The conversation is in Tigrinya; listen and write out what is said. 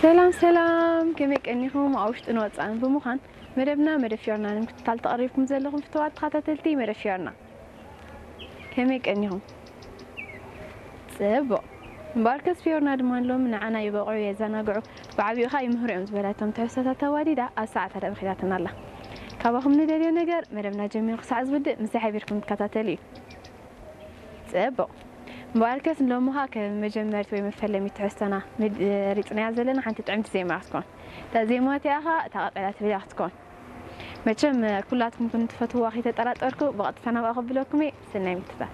ሰላም ሰላም፣ ከመይ ቀኒኹም? ኣብ ውሽጥን ወጻእን ብምዃን መደብና መደብ ፊዮርና ንምክትታል ተቐሪብኩም ዘለኹም ፍትዋት ተኸታተልቲ መደብ ፊዮርና፣ ከመይ ቀኒኹም? ጽቡቕ። እምበኣርከስ ፊዮርና ድማ ንሎሚ ንዓና ይበቕዑ፣ የዘናግዑ፣ ብዓቢኡ ኸኣ ይምህሩ እዮም ዝበላቶም ትሕዝቶታት ኣዋዲዳ ኣብ ሰዓታ ደብኺታትና ኣላ። ካባኹም ንደልዮ ነገር መደብና ጀሚሩ ክሳዕ ዝውድእ ምሳይ ሓቢርኩም ትከታተሉ እዩ። ጽቡቕ። እምበኣርከስ ንሎሚ ኸኣ ከም መጀመርቲ ወይ መፈለሚ ትሕዝቶና መድ-፣ ሪጽናያ ዘለና ሓንቲ ጥዕምቲ ዜማ ክትኮን። እታ ዜማ እቲኣ ኸኣ እታ ቀጸላ ትብል እያ ክትኮን። መቸም ኩላትኩም ከም ትፈትውዋ ከይተጠራጠርኩ ብቐጥታ ናብኣ ከብለኩም እየ። ሰናይ ምክትታል።